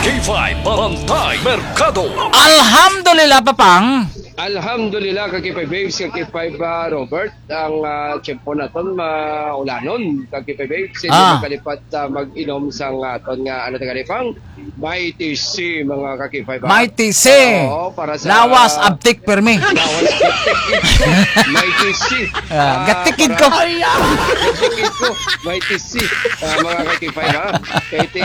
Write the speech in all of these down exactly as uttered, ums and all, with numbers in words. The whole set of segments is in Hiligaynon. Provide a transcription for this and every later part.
K five Bantay Merkado. Alhamdulillah, Papang. Alhamdulillah, ka K five Babes, ka K five, ah, Robert. Ang, ah, tiyempo naton maulanon, ka K five Babes. Hindi Ah. makalipat, ah, mag-inom sang aton nga, ano, taga Pang? Mighty C, mga ka K five, ah. Mighty C. Oo, para sa Lawas, abtik, permi. Lawas, abtik. Mighty C. Ah, Ah, gatikid para ko. Gatikid ko. Mighty C. Ah, mga ka K five, ha? Kaya ti,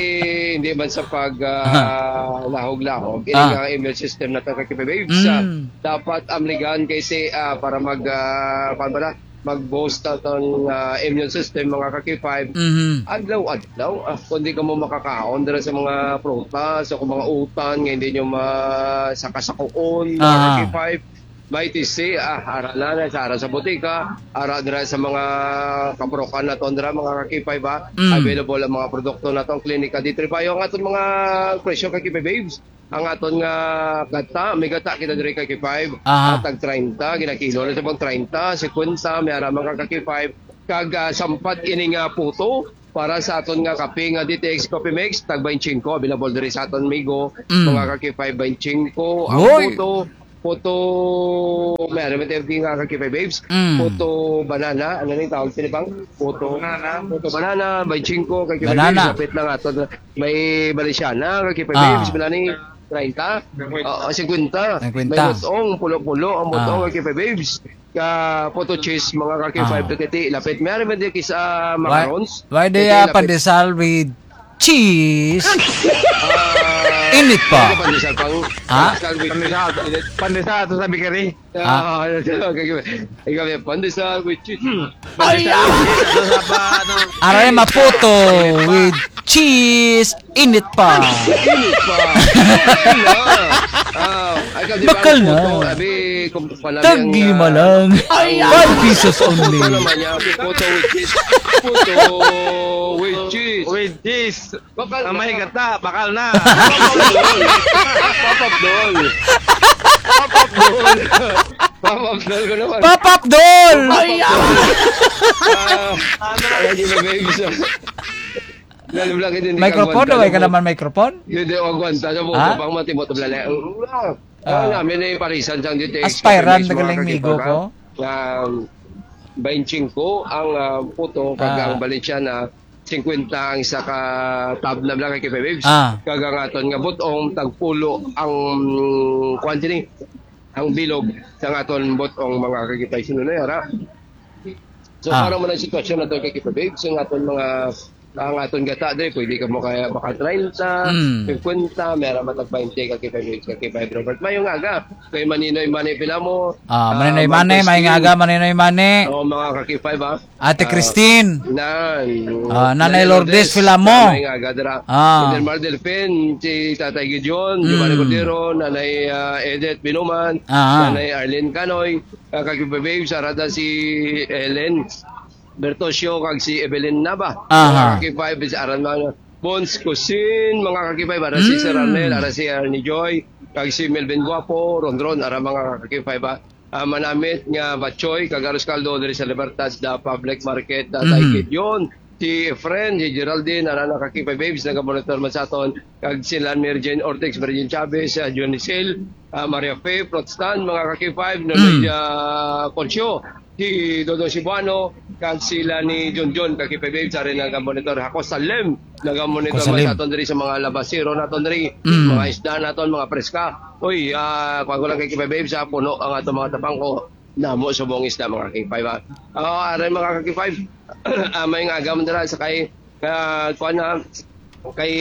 hindi man sa pag, ah, Ah. lahog-lahog. Ini Ah. nga immune system na to, ka K five Babes, ah, Mm. dapat amligan kay si, ah, para mag, ah, kuwan ba na? Mag-boost aton, ah, immune system, mga ka K five. Mhm. Adlaw-adlaw, ah, kung di ka mo makakaon dira sa mga prutas o kung mga utan nga hindi nyo ma-, sakasakuon, mga Ah. ka K five, Mighty C, ah, ara na, na, sa, ara sa botika, ara dira sa mga kapurukan naton dira, mga ka K five, ah. Mm. Available ang mga produkto naton, Klinika D three Bio. Ang aton mga presyo, ka K five Babes, ang aton nga gata, may gata kita diri, ka K five, Aha. ah, tag treinta, ginakilo na sa pang treinta, singkwenta, may ara, mga ka K five, kag, ah, sampat ini nga puto, para sa aton nga kape nga D T X Coffee Mix, tag twenty-five, available diri sa aton Migo, Mm. mga ka K five, twenty-five. Ang Hoy! puto, puto, may ano, may tawag nga ka K five Babes? Mm. Puto banana, ano ni tawag sini, Pang? Puto banana. Puto banana, twenty-five, ka K five Banana. Babes, kapit lang aton. May Valenciana, ka K five Ah. Babes, wala ni treinta? Oo, singkwenta. Singkwenta. May butong, pulo-pulo, ang butong, Ah. ka K five Babes. Ka puto cheese, mga ka K five, Ah. Titi, lapit. May ari man din kis, ah, Why, macarons. why do Titi, you have lapit. Pandesal with cheese? Ah, Init pa. Ano pandesal pang Ha? pandesal with Pandesal, cheese? Pandesal to sa bakery. Ah. Ah, ano to? Ikaw, ikaw, pandesal with cheese. Ay, Pandesal ah! with cheese. Ano sa pa, ano? Aray, maputo with cheese. Init pa. Init pa. Bakal na. Ah, ay, kasi Bakal bang na. Puto, abi, kung pala Tag yung, lima ah, lang. Ay, ah. Five pesos only. Ano naman yan? Puto with cheese. Puto with cheese. With cheese. Bakal Ah, na. May gata, bakal na. Papapdol. Papapdol. Papapdol. Papapdol ko naman. Papapdol! Ay, ah. Ah, ano yung babes? Lalim lang, hindi, hindi ka Microphone, agwanta, wala ka no? Naman microphone? Hindi, hindi, agwanta. Sa buko, Ha? Pang matimot, wala na. Ah. Ah, namin na yung parisan sang D T X Aspiran, Coffee Mix, mga nagaling migo kakipag, ko. Ha? Um, twenty-five ang, ah, puto, kag Ah. ang Valenciana, singkwenta ang isa ka tub na lang, ka K five Babes. Ah. Kag ang aton nga butong, tagpulo ang, kuwan sini, ang bilog sa aton butong, mga ka K five Babes. Sino na yara? So, Ah. Para man ang sitwasyon nato, ka K five Babes, ang aton mga, ang aton gata, dre, pwede ka mo kaya baka treinta, Mm. singkwenta, may ara matag twenty, ka K five Babes, ka K five Robert. Mayong aga, kay Maninoy Mane pila mo. Ah, Maninoy Ah, Mane, Marcos mayong Team. Aga, Maninoy Mane. Oo, mga ka K five, ah. Ate Ah, Christine. Nan. Ah, Nanay Nanay Lourdes Lourdes, Filamo. Nanay nga gadra. Ah. Del Mar Delfin, si Tatay Gideon, Mm. Giovanni Cordero, Nanay, ah, Edith Binuman, Ah. Nanay Arlene Canoy, ah, kag Babe, sa rada si Ellen Bertosio, kag si Evelyn Nava. Aha. Mga ka K five, sa aran mga Bons Cusin, mga ka K five, ara si Sir Mm. Arnel, ara si Arnie Joy, kag si Melvin Guapo, Rondron, ara mga ka K five, ah. Ah, manamit nga batchoy kag arroz caldo diri sa Libertad, the public market, ah, Mm. Taikid yun. Si Efren, si Geraldine, ara na ka K five Babes, nagamonitor man sa aton. Kag sila Mary Jane Ortex, Mary Jane Chavez, ah, Johnny Sil, ah, Maria Faye, Fruit Stand, mga ka K five, Nonoy, Mm. ah, Concio, si Dodo Cebuano, kag sila ni John John, ka K five Babes, ari nagamonitor. Ako, Salem, nagamonitor Ako, man Salem. Sa aton diri sa mga labasero naton diri, Mm. mga isda naton, mga preska. Uy, ah, kuwan ko lang kay K five Babes, ah, puno ang ato mga tapang ko. Namo subong isda, mga ka K five, ah. Ah, aray, mga ka K five. Ah, may nga agam dira sa kay, ah, kuwan na, kay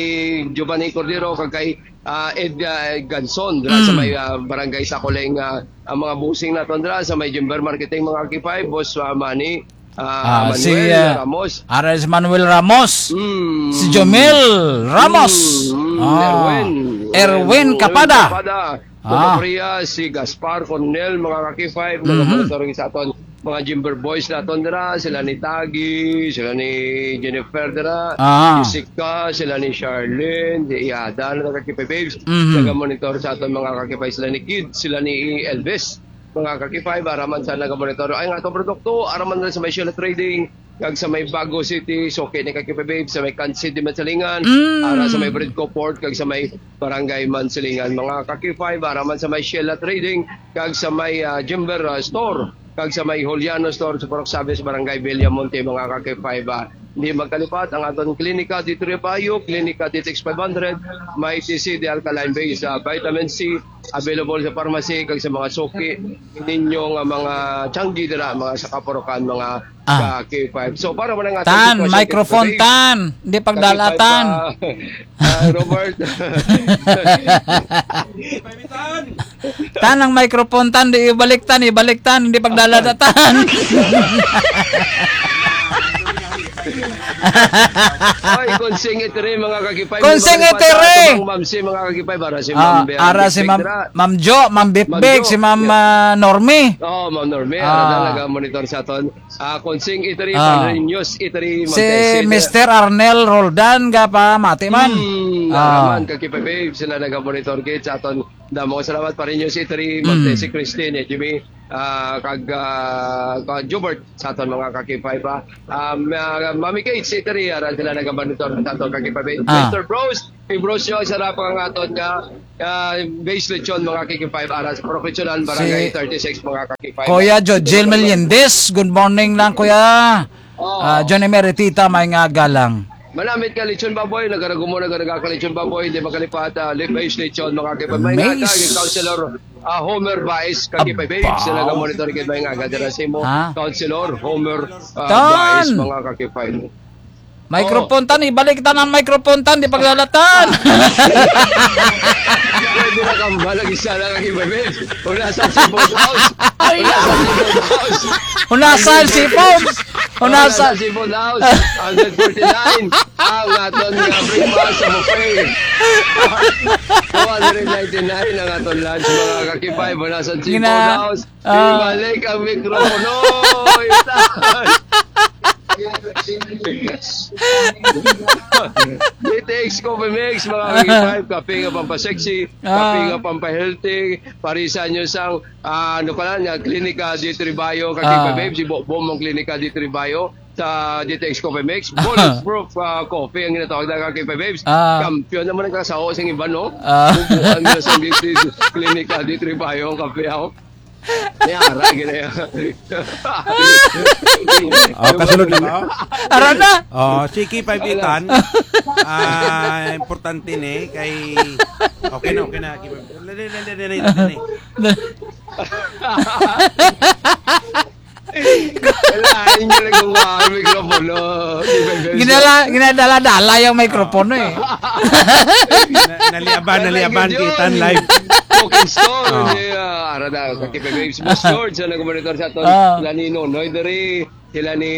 Giovanni Cordero, kag kay, ah, Ed, ah, Ganson, dira sa Mm. may, ah, barangay Sakuling, ah, ang mga busing naton dira sa may Jimber Marketing, mga ka K five, Boss, ah, Manny, ah, Ah, si, Manuel ah, Ramos. Ares Manuel Ramos. Mm. Si Jomel Ramos. Mm, mm, Ah. Erwin. Erwin Erwin Kapada. Kapada. Ah. Mga Korea, si Gaspar Cornel, mga ka K five, Mhm. mga monitor sa aton, mga Jimber Boys naton dira, sila ni Tagi, sila ni Jennifer dira, Ah. Jessica, sila ni Charlene, di Iada, na ka K five Babes, Mhm. naga-monitor sa aton, mga ka K five, sila ni Kid, sila ni Elvis, mga ka K five, araman sa naga-monitor. Ay, nga atong produkto, araman na sa may Shell Trading, kag sa may Bago City, suki ni ka K five Babes, sa may Kansi di Mansilingan, Mm. ara sa may Bridco Port, kag sa may Barangay Mansilingan. Mga ka K five, ara man sa may Sheila Trading, kag sa may, ah, Jimber, ah, Store, kag sa may Juliano Store, sa Purok Sabe, sa Barangay Villamonte, mga ka K five, ah. Hindi magkalipat ang aton Klinika di Trevio, Klinika Ditex five hundred, may T C D Alkaline Base, ah, vitamin C, available sa pharmacy, kag sa mga suki ninyo nga mga tiyanggi dira, mga sa Kapurukan, mga Ah. ka K five. So, para man ang ating Tan, sitwasyon, microphone, K five, Tan. Hindi ka K five, pagdalatan. ah, ah, Robert. Tan, ang microphone, Tan, di ibalik, Tan, ibalik, Tan, hindi pagdalatan. Oy, konsing itiri, mga ka K five. Konsing Mga itiri. Ma'am Mamsi, mga ka K five, ara si Ah, Ma'am Bea ara si Big Ma'am, Big Ra. Ma'am Jo, Ma'am Big Ma'am Big, Jo. si Ma'am, Yeah. ah, Normie. Oh, Ma'am Normie, ara Ah. talaga monitor sa aton. Ah, konsing itiri, Ah. Pareños itiri, Si Ma'am Tessie. Mister Arnel Roldan, ga pa, mati man. Hmm, Ah. naman, ka K five Babes, sila naga-monitor gid sa aton. Damo nga salamat, Pareños itiri, Ma'am Mm. Tessie, Christine, eh, Jimmy, ah, kag, ah, kag Jubert sa aton mga ka K five, ah. Ah, ma-, Mami Kate, si Terry, ara sila naga-monitor sa aton ka K five. Ah. Mister Bros, si Bros yung sarap ang aton nga, ah, base lechon, mga ka K five, ara sa Professional Barangay Si thirty-six, mga ka K five. Kuya Jojel Meliendez, good morning lang, Kuya. Oh. Ah, Johnny Meritita, may nga galang. Manamit ka lechon baboy, nagaragumo, nagaragaka lechon baboy, hindi makalipat, ah, Live Base Lechon, mga ka K five. May nga Mace. galang, Councilor ah, Homer Baez, ka K five Babes, sila nga Abaw. monitor kay may nga gadara sa imo. Ha? Councilor Homer, ah, Tan! Baez, mga ka K five. Microphone, Oh. Tan, ibalik, Tan, ang microphone, Tan, di paglalatan. Pwede na kambal, lagi siya lang, ka K five Babes. Wala sa si Bob House. Ay, Wala sa si Bob House. Wala sa si Bob. Wala Wala sa sa si Bob House. Hundred forty-nine. Ang aton nga breakfast sa buffet. Two hundred ninety-nine ang aton lunch, mga ka K five. Wala sa Gina- Chipotle House. Ah. Ibalik ang mikropono. Ito. D T X Coffee Mix, mga ka K five. Kape nga pampasexy, kape Ah. nga pampahealthy. Parisan nyo sang, ah, ano pala, nga Klinika di Tribayo, ka K five Ah. Babes. Si Bo-, Bomong Klinika di Tribayo. Sa D T X Coffee Mix, bulletproof, ah, coffee ang ginatawag na ka K five Babes. Ah. Kampiyon naman ang kasaho sa iban, no? Ah. Bubuan nila sa D T X Klinika di Tribayo ang kape, oh. May ara, gina-, Oh, kasunod na ba? Ara na. Oh, si K five Itan. Ah, importante ni kay okay na, okay na. K five. Dali, dali, dali, dali. Kailangan nyo lang kung ang mikropono. Ginala-, ginadala-dala yung mikropono eh. Na-, naliaban, naliaban, Kailangan kita yun. live. Cooking store, Oh. hindi, ah, ara na, ka K five Babes. Boss George, ang nag-monitor sa aton. Ah. Sila ni Nonoy diri, sila ni,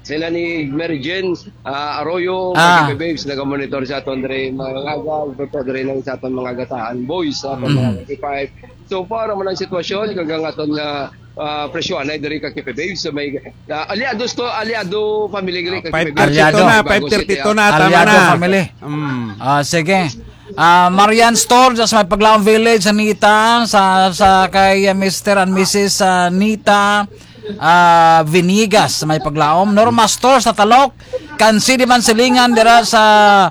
sila ni Mary Jane, ah, Arroyo, Ah. ka K five Babes, nag-monitor sa aton diri, mga aga, ito diri lang sa aton mga gataan. Boys, sa aton mga Mm. ka K five. So, para man ang sitwasyon, kag ang aton nga, ah, presyo, anay diri ka K five Babes, so may, ah, aliados to, aliado family diri Ah, ka K five Babes. five thirty-two Aliado. na, Bago five thirty-two City, na, ah. tama Aliado na. family. Mm. Ah, sige. Ah, Marian Store, sa may Paglaom Village, Anita, sa, sa kay, ah, Mister and Missus Anita, ah, Vinigas, sa may Paglaom. Norma Store sa Talok, Kansi di Mansilingan, dira sa,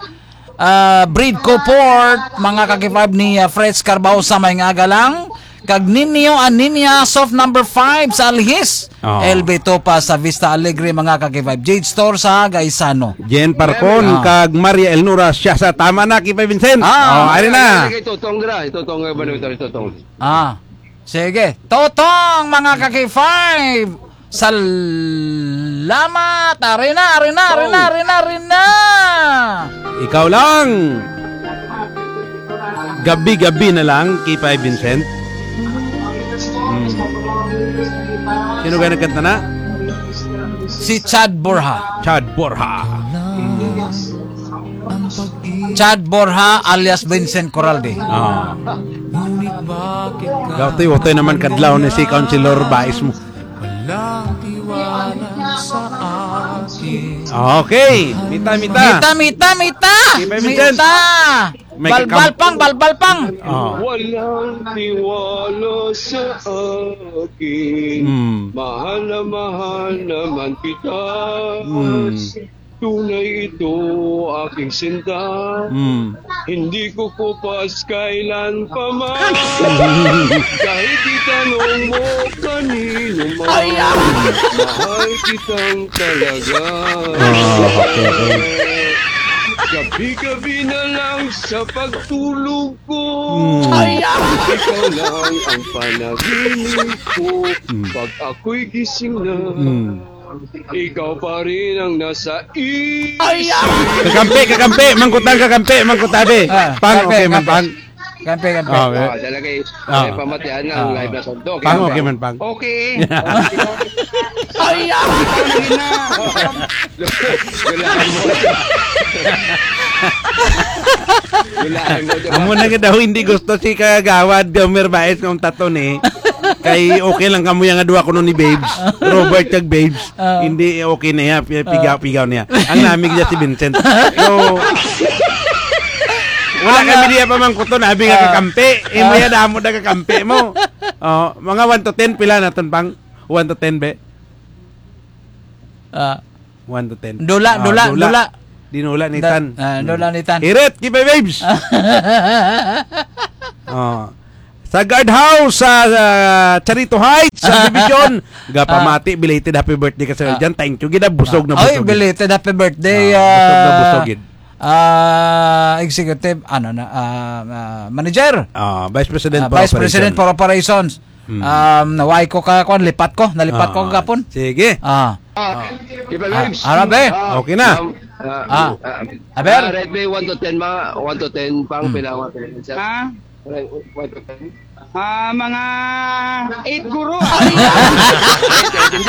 ah, Bridco Port, mga ka K five ni, ah, Fritz Carbao sa may nga aga lang. Kag Ninyo and Ninya, soft number five sa Alhis. Oh. L B two pa sa Vista Alegre, mga ka K five. Jade Store sa Gaisano. Jen Parcon, Ah. kag Maria Elnora siya sa tama na, K five Vincent. Ah. Oh, ari na. Kay Totong dira, Totong, eh, Manuel, Totong. Ah. Sige. Totong, mga ka K five. Salamat. Ari na, ari na, ari na, Oh. ari na, ari na. Ikaw lang. Gabi-gabi na lang, K five Vincent. Hmm. Sino kaya nagkanta na? Si Chad Borja. Chad Borja. Hmm. Chad Borja alias Vincent Coralde. Ah. Gawti, watoy naman kadlaw ni si Councilor Bais mo. Okay, mita, mita. Mita, mita, mita. K five Vincent. May balbal pang, balbal pang. Oh. Walang tiwala sa akin. Mm. Mahal na mahal naman kita. Mm. Tunay ito aking sinta. Mm. Hindi ko kupas kailan pa man. Kahit itanong mo kanino man. Ay, ah. Mahal kitang talaga. Ah, okay, okay. Gabi-gabi na lang sa pagtulog ko. Mm. Ay, ah. Ikaw lang ang panaginip ko. Mm. Pag ako'y gising na. Mm. Ikaw pa rin ang nasa isip. Ay, ah! Kakampi, kakampi, mangkutan, kakampi, mangkutabi. Ah, Pang, kakampi, okay man, kakampi. Pang. Kakampi, kakampi. Ah, okay. Oh, talaga eh. Ah. May pamatian na ang Ah. live na sandok. Pang, okay man, Pang. Okay. Ay, ah! Wala mo. Wala mo. Amo na nga daw hindi gusto si Kagawad Gomer Baez nga untaton eh. Kay okay lang kamo yang duha kuno ni Babes. Robert kag Babes. Ah. Hindi okay na iya, pi-, pigaw-pigaw niya. Ang namig niya si Vincent. So, wala Ang, kami ah, diya pamangkuton, abi nga ah, kakampi. Imo ah. Ya damo na kakampi mo. Oh, mga one to ten, pila naton, Pang? One to ten, be? Ah. One to ten. Dula, Ah, dula, dula. Dula. Dinula ni Da-, Tan. ah, dula ni Tan. Hirit, keep it, babes. Oh. Sa guardhouse, sa, sa Charito Heights, sa division. Gapamati, belated happy birthday ka sa Ah. dyan. Thank you. Gid, busog na Ah. Ay, busog gid. Belated happy birthday, Ah, busog na ah, busog gid. ah, executive, ano na, ah, ah, manager. Ah, Vice President Ah, for Vice President Operations. for Operations. Hmm. Um, naway ko ka, kwan, lipat ko, nalipat ko Ah, kagapon. sige. Ah. Ah, Iba Ah, Lives. Arabe. Ah, Okay na. um, ah, Ah. ah, Aber? ah, rate me one to ten, mga one to ten, pang Hmm. pila, one to ten, sir. Ha? One to ten. Ah, mga eight guro. Hindi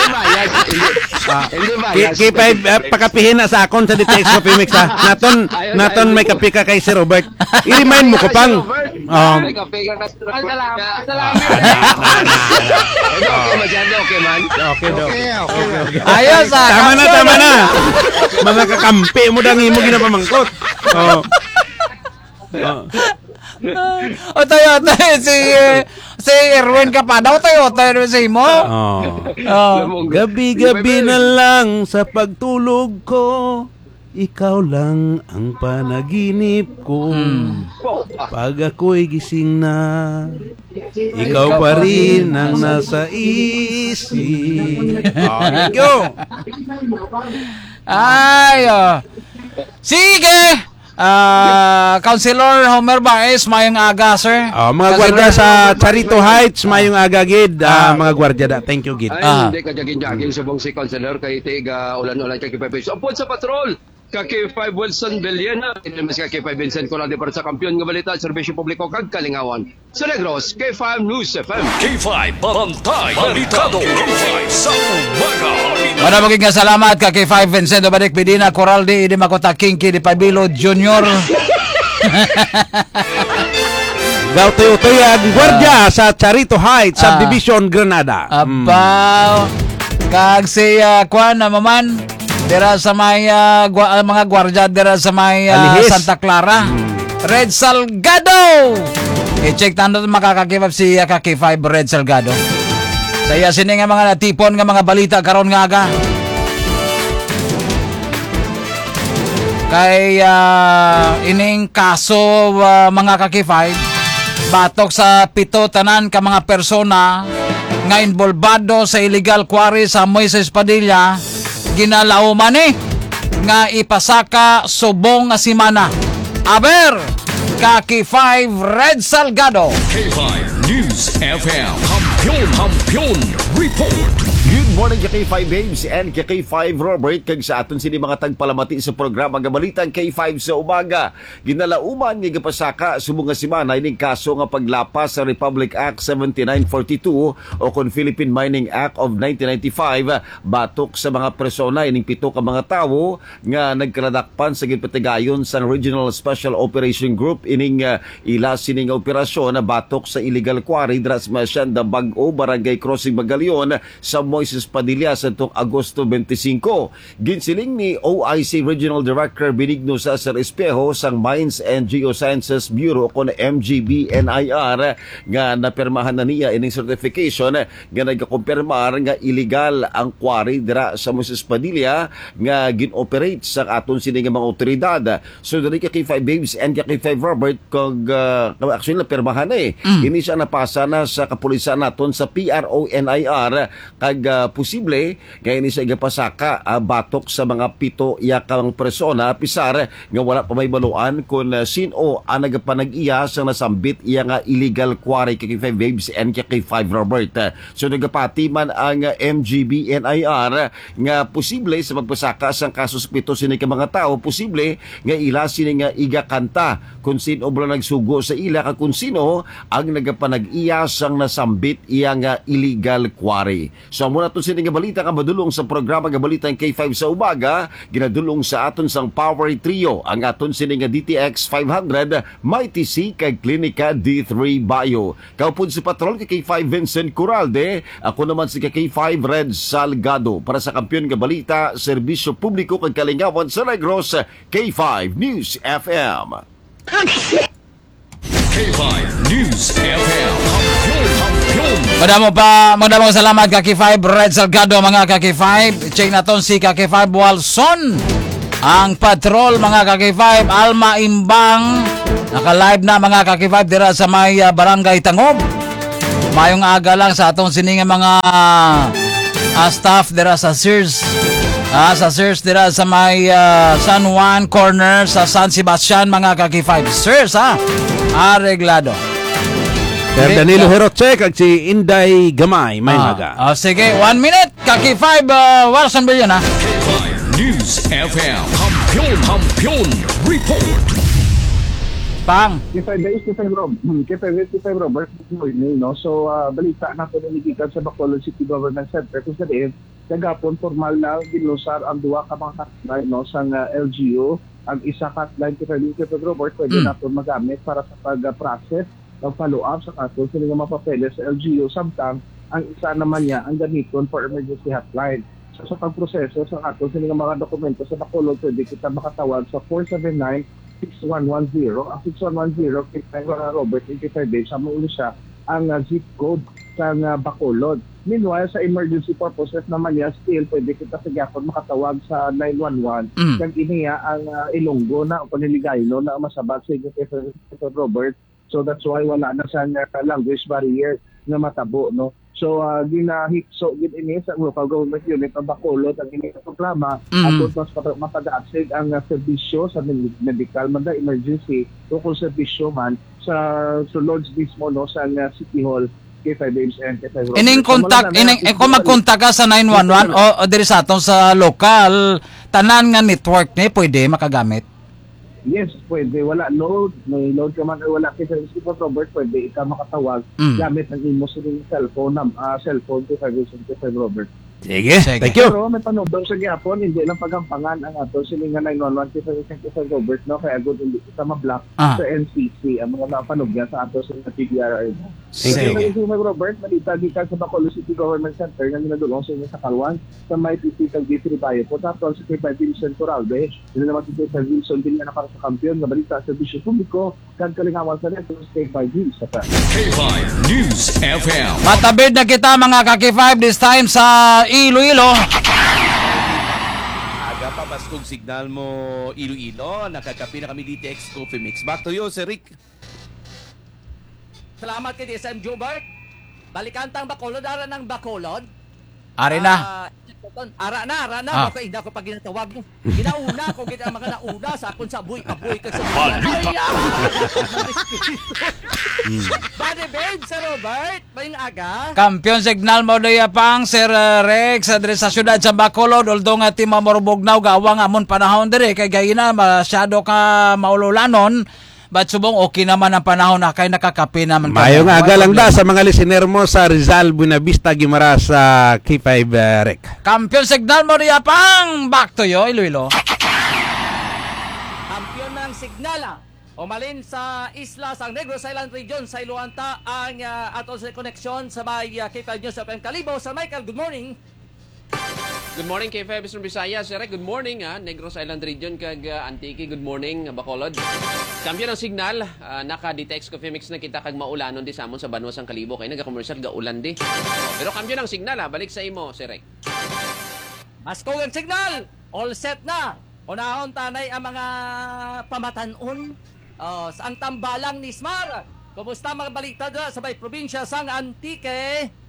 bias. Hindi, Ah, hindi K-, bias. K five, ah, pakapihin na sa akon sa D T X Coffee Mix, ha? Naton, Ayun, naton ayun. May kape ka kay Sir Robert. I-remind mo ko, Pang. Robert. Um, May kape ka, Sir Robert. Salamat. Salamat. Ah, na, na, na, na. Okay, masyado, okay, man. Okay, okay. Okay, okay, okay. Ayos, ah, Tama na, action. Tama na. Mga kakampi mo dang imo ginapamangkot. Oh. Oh. Otoy, otoy, si, eh, si Erwin Capado, otoy, otoy, ano si mo? Oh. Oh. Gabi-gabi na lang sa pagtulog ko, ikaw lang ang panaginip ko. Hmm. Pag ako'y gising na, ikaw pa rin ang nasa isip. Oh, thank you. Ay, oh. Sige. Ah, Councilor Homer Baez, mayong aga, sir. Oh, mga Councilor gwardiya sa Homer Baez, Charito mayong Heights, mayong aga gid. Ah, Ah. mga gwardiya da. Thank you gid. Ay, Ah. hindi ka jagin-jagin, subong si Councilor kay tiga ulan-ulan ka K five Vincent. Upod sa patrol, ka K five Wilson Villena, mas ka K five Vincent Corral, di para sa kampiyon nga balita, serbisyo publiko kag kalingawan. Sa Negros, K five News F M. K five Bantay Balitado, K five sa umaga. Wala maging nga salamat ka K five Vincent Obadic Medina, Coraldi, Idi Makota, Kinky, Di Pabilo Junior. Gautoy-utoy ang gwardiya Ah. sa Charito Heights, Ah. Subdivision, Granada. Abaw. Mm. Kag si, ah, kwan, ah, maman, dira sa may, ah, gwa-, ah, mga gwardiya dira sa may, ah, Alihis. Santa Clara. Mm. Red Salgado! I-check ta ano makakakipap si, ah, ka K five Red Salgado. Sa iya sini nga mga natipon nga mga balita karon nga aga. Kay, ah, ining kaso, ah, mga ka K five, batok sa pito tanan ka mga persona nga involbado sa illegal quarry sa Moises Padilla, ginalauman ni nga ipasaka subong nga semana. Aber, ka K five Red Salgado. K five News F M. Kampiyon, Kampiyon Report. Good morning, K five Babes and K five Robert. Kag sa aton sini mga tagpalamati sa programa nga Balitang K five sa Umaga. Ginalauman nga gipasaka subong nga semana ining kaso nga paglapas sa Republic Act seventy-nine forty-two o kon Philippine Mining Act of nineteen ninety-five batok sa mga persona. Ining pito ka mga tawo nga nagkaladakpan sa ginpatigayon sang Regional Special Operation Group ining, ah, ila sini nga operasyon na batok sa illegal quarry dira sa may Hacienda Bag-o, Barangay Crossing Magalion, sa Moises Padilla sa tong Agosto twenty-five. Ginsiling ni O I C Regional Director Benigno Cesar Espejo sang Mines and Geosciences Bureau, kon M G B N I R, nga napirmahan na niya ining certification nga nagakumpirmar nga illegal ang quarry dira sa Moises Padilla nga gin-operate sa aton sini nga mga awtoridad. So, diri ka K five Babes and ka K five Robert, kag, ah, actually, napirmahan na eh. Mm. Ini siya napasa na sa kapulisan naton sa P R O N I R, kag, ah, posible nga ini siya igapasaka, ah, batok sa mga pito iya ka mga persona, apisar nga wala pa mahibaluan kon, ah, sin-o ang nagapanag-iya sang nasambit iya nga illegal quarry ka K five Babes and ka K five Robert. So, nagapati man ang, ah, M G B N I R nga posible sa pagpasaka sang kaso sa pito sini ka mga tawo, posible nga ila sini nga igakanta kung sin-o bala nagsugo sa ila kag kung sin-o ang nagapanag-iya sang nasambit iya nga illegal quarry. So, amo na to sini nga balita nga madulong sa programa nga Balita ang K five sa Umaga, ginadulong sa aton sang Power Trio, ang aton sini nga D T X five hundred, Mighty C kag Klinika D three Bio. Kaupod si Patrol ka K five Vincent Coralde, ako naman si ka K five Red Salgado. Para sa Kampiyon nga Balita, Serbisyo Publiko kag Kalingawan sa Negros, K five News F M. K five News F M. Kampiyon, kampiyon. Madamo pa, madamo salamat ka K five Red Salgado, mga ka K five. Check naton si ka K five Walson. Ang Patrol, mga ka K five, Alma Imbang, naka-live na, mga ka K five, dira sa may, ah, Barangay Tangob. Mayong aga lang sa atong sini nga mga, ah, staff dira sa Sears. Ah, sa Sears dira sa may, ah, San Juan Corner sa San Sebastian, mga ka K five. Sears, ha? Areglado. Sir Danilo Heroche kag si Inday Gamay, may Ah, maga. Ah, sige, one minute. Kaki five, ah, Warson Bilyon, ha? K five News F M. Kampiyon, kampiyon report. Pang. K five Days, K five Rob. Hmm, K five Days, K five Robert. Good morning, no? So, ah, balita na po na nagikan sa Bacolod City Government Center kung sa diin, kagapon, formal na ginlusar ang duha ka mga hotline, no, sang, ah, L G U. Ang isa ka hotline, K five Days, K five Robert, pwede Hmm. naton magamit para sa pag-process pag-follow up sa kaso sini nga mga papeles sa L G U, samtang ang isa naman niya ang gamiton for emergency hotline. So, sa pagproseso sa ato sini nga mga dokumento sa Bacolod, pwede kita makatawag sa four seven nine, six one one zero. Ang six one one zero, kay Robert, twenty-five days, sa mo siya ang, ah, zip code sa, ah, Bacolod. Meanwhile, sa emergency purposes naman niya, still pwede kita sa gyapon makatawag sa nine one one. Mm. Kag ini, ah, ang, ah, Ilonggo na o kung Hiligaynon na ang masabat sa inyo kay Robert. So that's why wala na sang, uh, language barrier nga matabo, no? So, uh, ginahikso gid ini sa local government unit ng Bacolod ang ini nga programa. Mm. Aron mas mapa-, mapadasig ang, uh, serbisyo sa med-, medical man da, emergency, o kung serbisyo man sa sulod mismo, no, sa, uh, City Hall, K five Babes and K five Robert. Ining So, contact, mao na ining, ang eh, kung magkontak ka sa nine one one o, o diri sa atong sa lokal, tanan nga network ni pwede makagamit? Yes, pwede. Wala load. May load ka man or wala, kay sa Robert, pwede ikaw makatawag Mm. gamit ang imo sining cellphone, nam-, ah, cellphone, kay sa Robert, kay sa Robert. Sige, Sige. Thank you. Pero may panubang sa gyapon, hindi lang pagampangan ang ato sining nga nine one one kay sa, kay sa Robert, no? Kaya good, hindi kita ma-block Ah. sa N C C, ang mga napanugyan sa ato sa P D R R. Thank you. Sige. Kay sa Robert, malita gikan sa Bacolod City Government Center nga ginadulong sa inyo sa Kalwan, sa may P C kag D three Bio po. Tapos, si Kay Vincent Coralde, yun naman si Kay Wilson Villana para sa Kampiyon nga Balita, Serbisyo Publiko, kag Kalingawan sa Negros, K five News F M. K five News F M. Matabid na kita, mga ka-K five, this time sa Iloilo. Aga pa, baskog signal mo, Iloilo. Nakakapi na kami D T X Coffee Mix. Back to you, Sir Rick. Salamat kay D S M Jobert. Balikan tang Bacolod, ara ng Bacolod. Ari na. Ah, ara na, ara na. Ah. Baka hindi ako pag ginatawag mo. Ginauna ko, gid ang mga nauna sa akon sa buhi, kabuhi ka sa Balita. Ay, ah! Hmm. Body Babe, Sir Robert, mayong aga. Kampiyon signal mo, Doya Pang, Sir, uh, Rex, uh, diri sa siyudad sa Bacolod, although nga Timor ug Bugnaw, gawa nga amon panahon diri, kay gaina, masyado ka maululanon, but subong okay naman ang panahon na kay nakakape naman kami. Mayo nga aga lang da sa mga listener mo sa Rizal, Buenavista, Guimaras, sa K five, uh, Rec. Kampiyon signal mo, Doya Pang, back to you, Iloilo. Kampiyon ng signal, ah. Umalin sa isla sang Negros Island Region, sa Iloanta ang, ah, ato sa koneksyon sa may, ah, K five News F M Kalibo. Sir Michael, good morning. Good morning, K five Eastern Visayas. Sir, good morning, ha. Negros Island Region kag, ah, Antique, good morning, Bacolod. Kampiyon ang signal, ah, naka-detect coffee mix na kita kag maulanon di sa amon sa banwa sang Kalibo kay nagakomersyal ga ulan di. Pero kampiyon ang signal, ha. Balik sa imo, Sir Rek. Maskog ang signal! All set na! Unahon tanay ang mga pamatanon. Oh, sa ang tambalang ni Smar. Kumusta mga balita dira sa may probinsya sang Antique?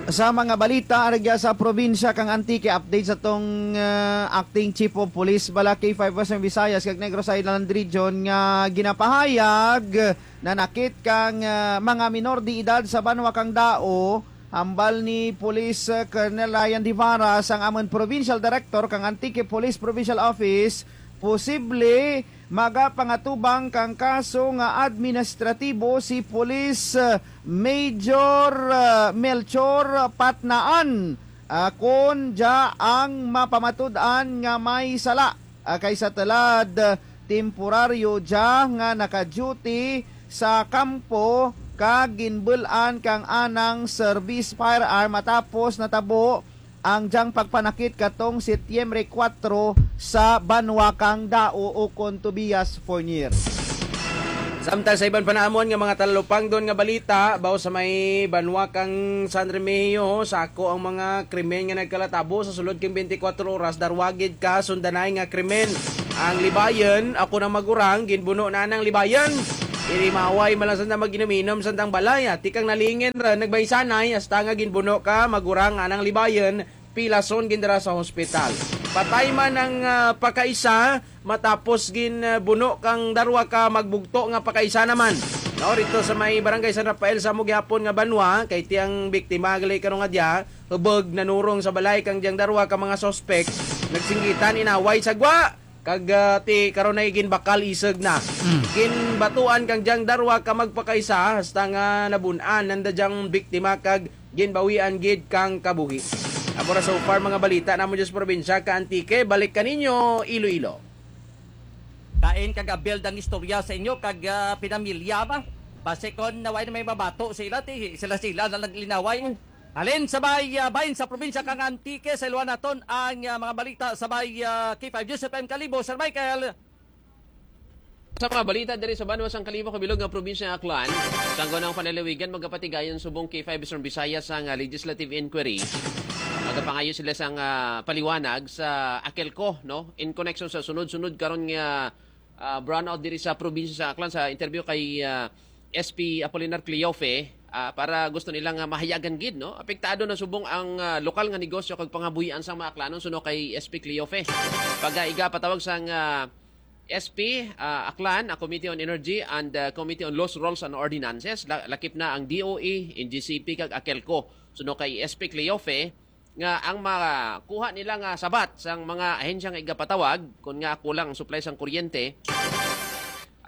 Sa mga balita aragya sa probinsya kang Antique, update sa tong, ah, acting chief of police bala K five Western Visayas kag Negros Island Region nga ginapahayag nanakit kang, ah, mga minor de edad sa banwa kang Dao, hambal ni Police, ah, Colonel Ryan Divara sang amon provincial director kang Antique Police Provincial Office, posible magapangatubang kang kaso nga administratibo si Police, ah, Major, ah, Melchor Patnaan, ah, kon dya ang mapamatud-an nga may sala, ah, kay sa tulad, ah, temporaryo dya nga naka-duty sa kampo kag ginbul-an kang anang service firearm matapos natabo ang dyang pagpanakit katong Setyembre kuwatro sa banwa kang Dao ukon Tobias Fornier. Samtang sa iban pa namon nga mga talalupangdon nga balita, baw sa may banwa kang San Remigio, sako ang mga krimen nga nagkalatabo sa sulod king twenty-four oras, darwa gid ka sundanay nga krimen. Ang libayon, ako nang magurang, ginbuno na nang libayon. Irimaway, malansan na mag-inom-inom, sandang balay, ati kang nalingin ra, nagbaysanay, hasta nga ginbuno ka, magurang anang libayon, pilason gindara sa hospital. Patay man ang, ah, pakaisa, matapos ginbuno kang darwa ka magbugto nga pakaisa naman. No, rito sa may barangay San Rafael sa amo gihapon nga banwa, kay ti ang biktima gali karon nga diya, hubog nanurong sa balay kang diyang darwa ka mga suspek, nagsinggitan, inaway sa gwa, kag, ah, ti karon ay ginbakal isog na. Mm. Ginbatuan kang diyang darwa ka magpakaisa hasta nga nabun-an nanda diyang biktima kag ginbawian gid kang kabuhi. Amo ra so far mga balita namon dyan sa probinsya ka Antique. Balik kaninyo, Iloilo. Kain kag abil ang istorya sa inyo kag, ah, pinamilya ba? Basi kon naway na may mabato sila, ti sila-sila na naglinaway. Halin sa bay, ah, bahin sa probinsya kang Antique, sa iluan naton ang, ah, mga balita sa bay, ah, K five News F M Kalibo, Sir Michael. Sa mga balita diri sa banwa sang Kalibo, kabilog nga probinsya nga Aklan, sang gunang panlalawigan, magapatigayon subong K five Eastern Visayas sang, ah, legislative inquiry. Magapangayo sila sang, ah, paliwanag sa AKELCO, no? In connection sa sunod-sunod karon nga, ah, brownout diri sa probinsya sa Aklan, sa interview kay, ah, S P Apolinar Cleofe, ah, para gusto nila nga mahayagan gid, no? Apektado na subong ang, ah, lokal nga negosyo kag pangabuhian sang mga Aklanon, suno kay S P Cleofe. Pag, ah, igapatawag sang, ah, S P, ah, Aklan, ah, Committee on Energy and, ah, Committee on Laws, Rules and Ordinances, la-, lakip na ang D O E, N G C P kag AKELCO. Suno kay S P Cleofe, nga ang makuha nila nga sabat sang mga ahensya nga igapatawag, kun nga kulang ang supply sang kuryente,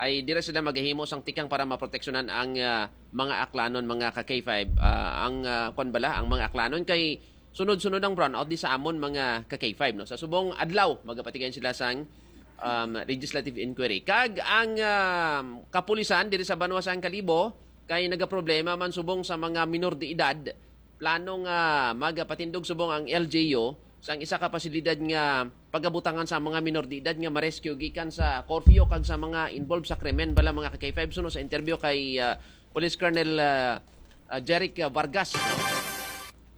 ay dira sila maghimo sang tikang para maproteksyonan ang, ah, mga Aklanon, mga ka K five, ah, ang, ah, kwan bala, ang mga Aklanon kay sunod-sunod ang brownout di sa amon mga ka K five, no? Sa subong adlaw, magapatigayon sila sang, um, legislative inquiry. Kag ang, um, kapulisan diri sa banwa sang Kalibo kay nagaproblema man subong sa mga minor de edad. Plano nga magapatindog subong ang L G U sang isa ka pasilidad nga pagabutangan sa mga minor de edad nga ma-rescue gikan sa curfew kag sa mga involved sa krimen bala, mga ka K five, suno sa interview kay, ah, Police Colonel, ah, ah, Jeric, ah, Vargas, no?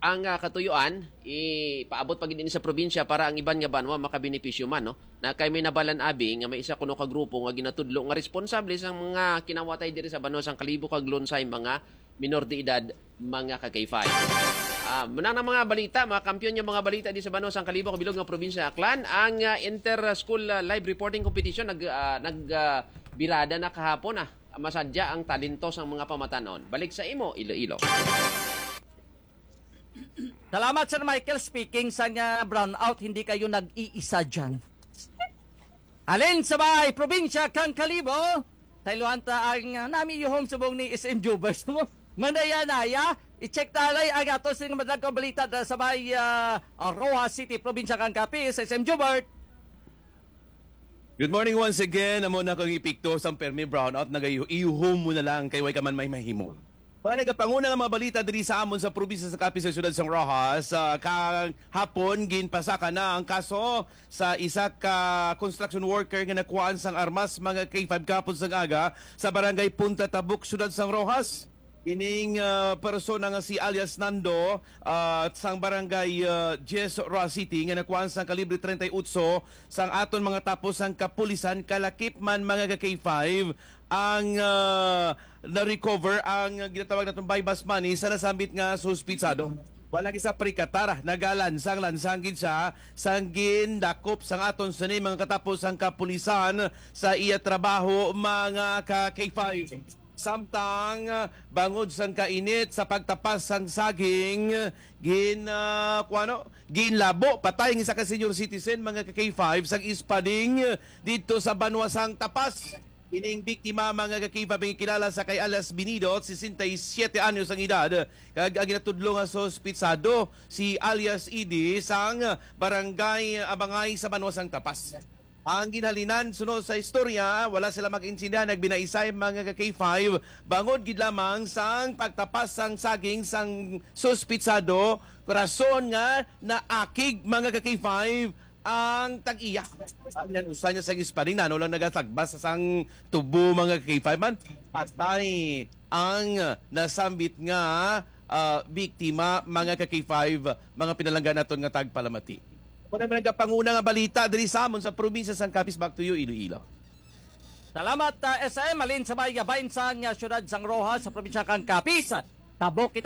Ang, ah, katuyuan, ipaabot pa gid ini sa probinsya para ang iban nga banwa makabenepisyo man, no? Na kay may nabalan abi nga may isa kuno ka grupo nga ginatudlo nga responsable sa mga kinawatay diri sa banwa sang Kalibo kag Lunsay, mga minor de edad, mga ka K five. Ah, muna ang mga balita, mga kampiyon nga mga balita di sa banwa sang Kalibo, kabilog nga probinsya Aklan, ang, ah, inter-school, ah, live reporting competition nag, ah, nag, ah, birada na kahapon, ah. Masadya ang talento sang mga pamatanon. Balik sa imo, Iloilo. Salamat, Sir Michael. Speaking sa nga brownout, hindi kayo nag-iisa dyan. Alin sa may probinsya kang Kalibo? Tailuan ta ang, uh, nami yuhom subong ni S M Jubers mo. Manaya-naya, i-check talay ang ato sing madagkong balita da sa may, uh, Roxas City, probinsya kang Capiz, S M Jubert. Good morning once again. Amo na kang epekto sang permi brownout, nagayu-, iyuhom mo na lang kay way ka man may mahimo. Mga nagapanguna nga mga balita diri sa amon sa probinsya sa Capiz sa siyudad sang Roxas, ah, kahapon ginpasaka na ang kaso sa isa ka construction worker nga nakuhaan sang armas, mga K five, kahapon sang aga sa barangay Punta Tabuk, siyudad sang Roxas. Ining, ah, persona nga si alias Nando, ah, sang barangay, ah, Diez, Roxas City, nga nakuhaan sang kalibre treinta y ocho sang aton mga tapo sang kapulisan, kalakip man, mga ka K five, ang, ah, na-recover ang ginatawag naton buy-bust money sa nasambit nga suspitsado. Wala gid sa perikatar, nagalansang-lansang gid siya sang gindakop sang aton sini mga katapo sang kapulisan sa iya trabaho, mga ka K five. Samtang, ah, bangod sang kainit sa pagtapas sang saging, gin, ah, kuwano, ginlabo patay ang isa ka senior citizen, mga ka K five, sang ispading didto sa banwa sang Tapas. Ining biktima, mga ka K five, ang kilala sa kay alias Binidot, sesenta y siete anyos ang edad, kag ang ginatudlo nga suspitsado si alias Idi sang barangay Abangay sa banwa sang Tapas. Ang ginhalinan, sunod sa istorya, wala sila mag-intindihan, nagbinaisay, mga ka K five, bangod gid lamang sang pagtapas sang saging sang suspitsado, rason nga naakig, mga ka K five, ang tag-iya. Ang usa niya sang ispading, nano lang nagatagbas sang tubo, mga ka K five, man. Patay ang nasambit nga, ah, biktima, mga ka K five, mga pinalangga naton nga tagpalamati. Ako na nagapanguna nga balita diri sa amon sa probinsya sang Capiz. Back to you, Iloilo. Salamat, ah, S M. Alin sa may gabain sang, ah, siyudad sang Roxas sa probinsya kang Capiz. Tabok kita